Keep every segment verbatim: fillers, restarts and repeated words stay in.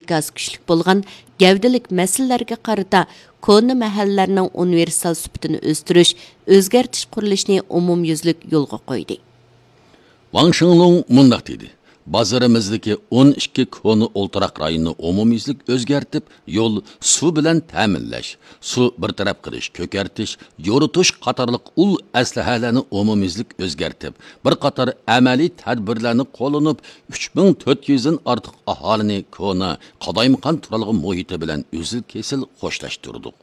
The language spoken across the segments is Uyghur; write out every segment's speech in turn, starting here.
ئىنكاسى كۈچلۈك بولغان گەۋدىلىك مەسىلىلەرگە قارىتا كونا مەھەللىلەرنىڭ ئۇنىۋېرسال سۈپىتىنى ئۆستۈرۈش، ئۆزگەرتىش قۇرۇلۇشىنى ئومۇميۈزلۈك يولغا قويدى. ۋاڭ شىڭلۇڭ مۇنداق دېدى: بازىرىمىزدىكى ئون ئىككى كونا ئولتۇراق رايونىنى ئومۇميۈزلۈك ئۆزگەرتىپ، يول، سۇ بىلەن تەمىنلەش، سۇ بىر تەرەپ قىلىش، كۆكەرتىش، يورۇتۇش قاتارلىق ئۇل ئەسلىھەلەرنى ئومۇميۈزلۈك ئۆزگەرتىپ، بىر قاتار ئەمەلىي تەدبىرلەرنى قوللىنىپ، ئۈچ مىڭ تۆت يۈزدىن ئارتۇق ئاھالىنى كونا، قالايمىقان تۇرالغۇ مۇھىتى بىلەن ئۈزۈل-كېسىل خوشلاشتۇردۇق.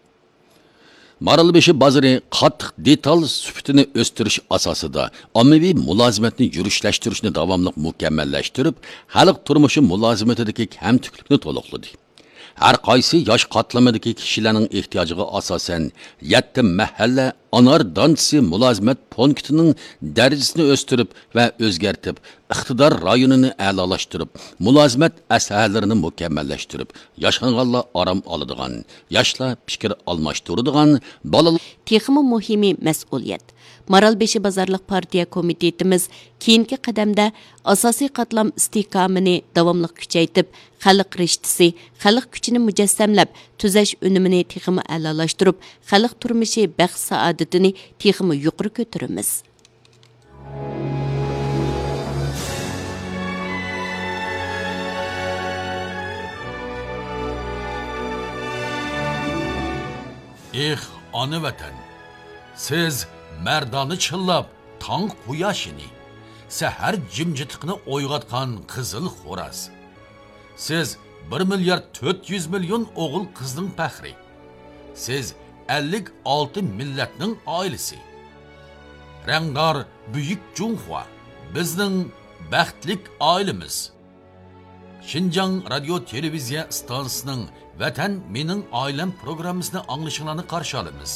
مارالبېشى بازىرى قاتتىق دېتال سۈپىتىنى ئۆستۈرۈش ئاساسىدا ئاممىۋى مۇلازىمەتنى يۈرۈشلەشتۈرۈشنى داۋاملىق مۇكەممەللەشتۈرۈپ، خەلق تۇرمۇشى مۇلازىمىتىدىكى كەمتۈكلۈكنى تولۇقلىدى. ھەر قايسى ياش قاتلىمىدىكى كىشىلەرنىڭ ئېھتىياجىغا ئاساسەن، يەتتە مەھەللە ئانار دانچىسى مۇلازىمەت پونكىتىنىڭ دەرىجىسىنى ئۆستۈرۈپ ۋە ئۆزگەرتىپ، ئىقتىدار رايونىنى ئەلالاشتۇرۇپ، مۇلازىمەت ئەسلىھەلىرىنى مۇكەممەللەشتۈرۈپ، ياشانغانلار ئارام ئالىدىغان، ياشلار پىكىر ئالماشتۇرىدىغان، بالىلار تېخىمۇ مۇھىمى مەسئۇلىيەت. مارالبېشى بازارلىق پارتىيە كومىتېتىمىز كېيىنكى قەدەمدە ئاساسىي قاتلام ئىستىھكامىنى داۋاملىق كۈچەيتىپ، خەلق رىشتىسى، خەلق كۈچىنى مۇجەسسەملەپ، تۈزەش ئۈنۈمىنى تېخىمۇ ئەلالاشتۇرۇپ، خەلق تۇرمۇشى، بەخت-سائادىتىنى تېخىمۇ يۇقىرى كۆتۈرىمىز. ئېھ، ئانا ۋەتەن! سىز مەردانە چىللاپ تاڭ قۇياشىنى، سەھەر جىمجىتلىقىنى ئويغاتقان قىزىل خوراز. سىز بىر مىليارد تۆت يۈز مىليون ئوغۇل-قىزنىڭ پەخرى. سىز ئەللىك ئالتە مىللەتنىڭ ئائىلىسى. رەڭدار بۈيۈك جۇڭخۇا، بىزنىڭ بەختلىك ئائىلىمىز. شىنجاڭ رادىيو تېلېۋىزىيە ئىستانسىسىنىڭ ۋەتەن مېنىڭ ئائىلەم پروگراممىسىنى ئاڭلىشىڭلارنى قارشى ئالىمىز.